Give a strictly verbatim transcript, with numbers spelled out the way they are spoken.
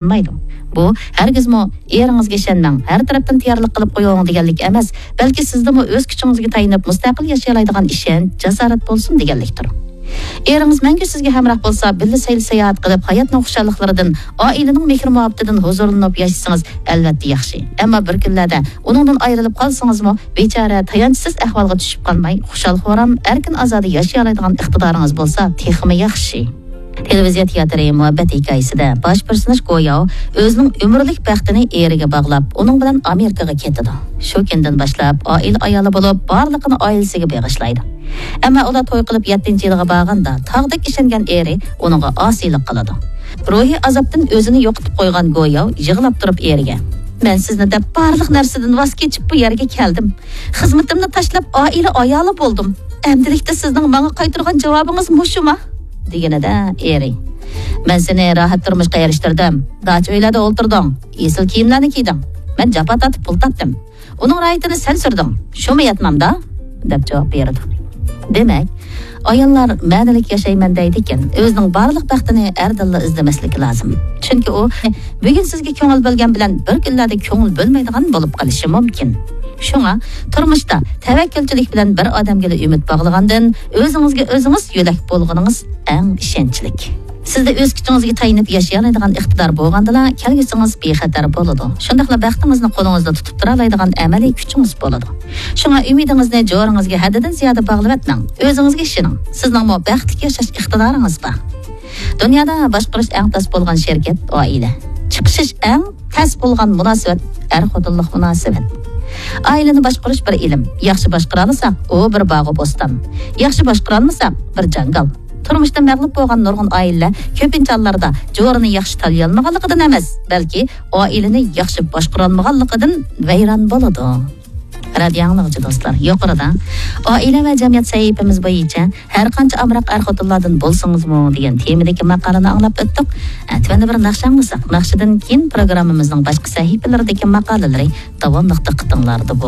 قىلمايدۇ. بۇ ھەرگىزمۇ «ئېرىڭىزگە ئىشەنمەڭ، ھەر تەرەپتىن تەييارلىق قىلىپ قويۇڭ» دېگەنلىك ئەمەس، بەلكى سىزدىمۇ ئۆز كۈچىڭىزگە تايىنىپ مۇستەقىل ياشىيالايدىغان ئىشەنچ، جاسارەت بولسۇن دېگەنلىكتۇر. ئېرىڭىز مەڭگۈ سىزگە ھەمراھ بولسا، بىللە سەيلە ساياھەت قىلىپ، ھاياتنىڭ خۇشاللىقلىرىدىن، ئائىلىنىڭ مېھىر-مۇھەببىتىدىن ھۇزۇرلىنىپ ياشىسىڭىز، ئەلۋەتتە ياخشى. ئەمما بىر كۈنلەردە ئۇنىڭدىن ئايرىلىپ قالسىڭىزمۇ، بىچارە تايانچسىز ئەھۋالغا چۈشۈپ قالماي، خۇشال-خۇرام، ئەركىن-ئازادە ياشىيالايدىغان ئىقتىدارىڭىز بولسا، تېخىمۇ ياخشى. تېلېۋىزىيە تىياتىرى مۇھەببەت ھېكايىسىدە باش پېرسوناژ گوياۋ ئۆزىنىڭ ئۆمۈرلۈك بەختىنى ئېرىگە باغلاپ، ئۇنىڭ بىلەن ئامېرىكىغا كېتىدۇ. شۇ كۈندىن باشلاپ ئائىلە ئايالى بولۇپ، بارلىقىنى ئائىلىسىگە بېغىشلايدۇ. ئەمما ئۇلار توي قىلىپ يەتتىنچى يىلىغا بارغاندا، تاغدەك ئىشەنگەن ئېرى ئۇنىڭغا ئاسىيلىق قىلىدۇ. روھىي ئازابتىن ئۆزىنى يوقىتىپ قويغان گوياۋ يىغلاپ تۇرۇپ ئېرىگە، «مەن سىزنى دەپ بارلىق نەرسىدىن ۋاز كېچىپ بۇ يەرگە كەلدىم. خىزمىتىمنى تاشلاپ ئائىلە ئايالى بولدۇم. ئەمدىلىكتە سىزنىڭ ماڭا قايتۇرغان جاۋابىڭىز مۇشۇما؟» دېگىنىدە ئېرى، «مەن سېنى راھەت تۇرمۇشقا ئېرىشتۈردۈم. داچا ئۆيلەردە ئولتۇردۇڭ، ئېسىل كىيىملەرنى كىيدىڭ. مەن جاپا تارتىپ پۇل تاپتىم. ئۇنىڭ راھىتىنى سەن سۈردۈڭ. شۇمۇ يەتمەمدا؟» دەپ جاۋاب بېرىدۇ. دېمەك، ئاياللار مەنىلىك ياشايمەن دەيدىكەن، ئۆزىنىڭ بارلىق بەختىنى ئەردىنلا ئىزدىمەسلىكى لازىم. چۈنكى ئۇ بۈگۈن سىزگە كۆڭۈل بۆلگەن بىلەن بىر كۈنلەردە كۆڭۈل بۆلمەيدىغان بولۇپ قېلىشى مۇمكىن. شۇڭا تۇرمۇشتا تەۋەككۈلچىلىك بىلەن بىر ئادەمگىلا ئۈمىد باغلىغاندىن، ئۆزىڭىزگە ئۆزىڭىز يۆلەك بولغىنىڭىز ئەڭ ئىشەنچلىك. سىزدە ئۆز كۈچىڭىزگە تايىنىپ ياشىيالايدىغان ئىقتىدار بولغاندىلا، كەلگۈسىڭىز بىخەتەر بولىدۇ. شۇنداقلا بەختىڭىزنى قولىڭىزدا تۇتۇپ تۇرالايدىغان ئەمەلىي كۈچىڭىز بولىدۇ. شۇڭا ئۈمىدىڭىزنى جورىڭىزگە ھەددىدىن زىيادە باغلىۋەتمەڭ. ئۆزىڭىزگە ئىشىنىڭ. سىزنىڭمۇ بەختلىك ياشاش ئىقتىدارىڭىز بار. دۇنيادا باشقۇرۇش ئەڭ تەس بولغان شىركەت ئائىلە. چىقىشىش ئەڭ تەس بولغان مۇناسىۋەت ئەر-خوتۇنلۇق مۇناسىۋەت. ئائىلىنى باشقۇرۇش بىر ئىلىم. ياخشى باشقۇرالىساق، ئۇ بىر باغۇ بوستان. ياخشى باشقۇرالمىساق، بىر جاڭگال. تۇرمۇشتا مەغلۇپ بولغان نۇرغۇن ئائىلىلەر كۆپىنچە ھاللاردا جورىنى ياخشى تاللىيالمىغانلىقىدىن ئەمەس، بەلكى ئائىلىنى ياخشى باشقۇرالمىغانلىقىدىن ۋەيران بولىدۇ. رادىيو ئاڭلىغۇچى دوستلار، يۇقىرىدا ئائىلە ۋە جەمئىيەت سەھىپىمىز بويىچە ھەر قانچە ئامراق ئەر-خوتۇنلاردىن بولسىڭىزمۇ دېگەن تېمىدىكى ماقالىنى ئاڭلاپ ئۆتتۇق. ئە، تۆۋەندە بىر ناخشا ئاڭلىساق، ناخشىدىن كېيىن پروگراممىمىزنىڭ باشقا سەھىپىلىرىدىكى ماقالىلىرى داۋاملىق دىققىتىڭلاردا بولسۇن.